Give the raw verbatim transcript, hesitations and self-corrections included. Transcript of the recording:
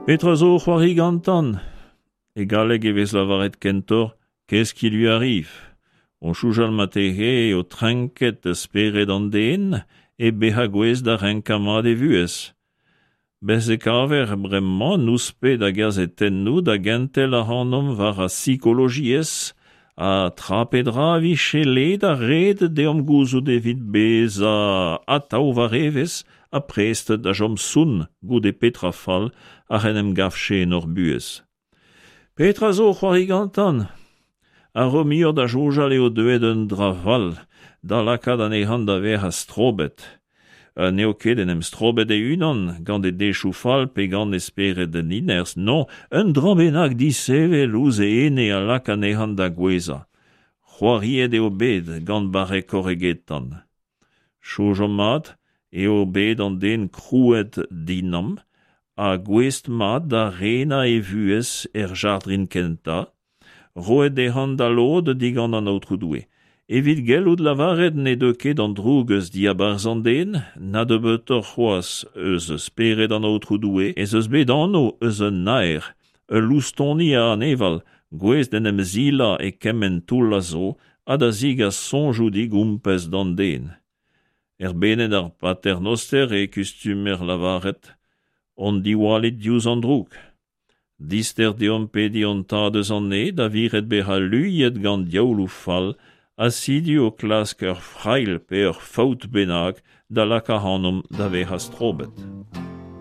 Petra zo c'hoari gantan? E galleg e vez lavaret kentoc'h qu'est-ce qui lui arrive? O soñjal marteze eo trenket spered an den e bezañ gouest da renkañ mat e vuhez. Bez' e kaver bremañ nouspet a gazetennoù da gentel ac'hanomp war ar psikologiezh ha tra pe dra a vije let ha ret deomp gouzout evit bezañ atav war evezh ha prest da chom sonn goude petra fall ac'h en em gavfe en hor buhez. Petra zo c'hoari gantan? A ro muioc'h da soñjal eo deuet un dra fall da lakaat anezhañ da vezañ strobet. N'eo ket en em strobet e-unan gant e dechoù fall pe gant e spered dinerzh, non, un dra bennak disheñvel ouzh e ene a lak anezhañ da gouezhañ. C'hoariet eo bet gant barrekoc'h egetan. Soñjomp mat eo bet an den krouet dinamm ha gouest mat da renañ e vuhez er jardrin kentañ, roet dezhañ da lod digant an Aotrou Doue. Evit gellout lavaret ne deu ket an droug eus diabarzh an den, na nebeutoc'h c'hoazh eus spered an Aotrou Doue, ez eus bet anv eus un naer, ul loustoni a aneval, gouest d'en em silañ e kement toull a zo ha da zegas soñjoù digompez d'an den. Er bened ar Pater Noster e kustumer lavaret hon diwallit diouzh an droug. Dister deomp pediñ hon tad eus an neñv da viret bezañ luiet gant diaouloù fall ha sidu o klask ur frailh pe ur faot bennak da lakaat ac'hanomp da vezañ strobet.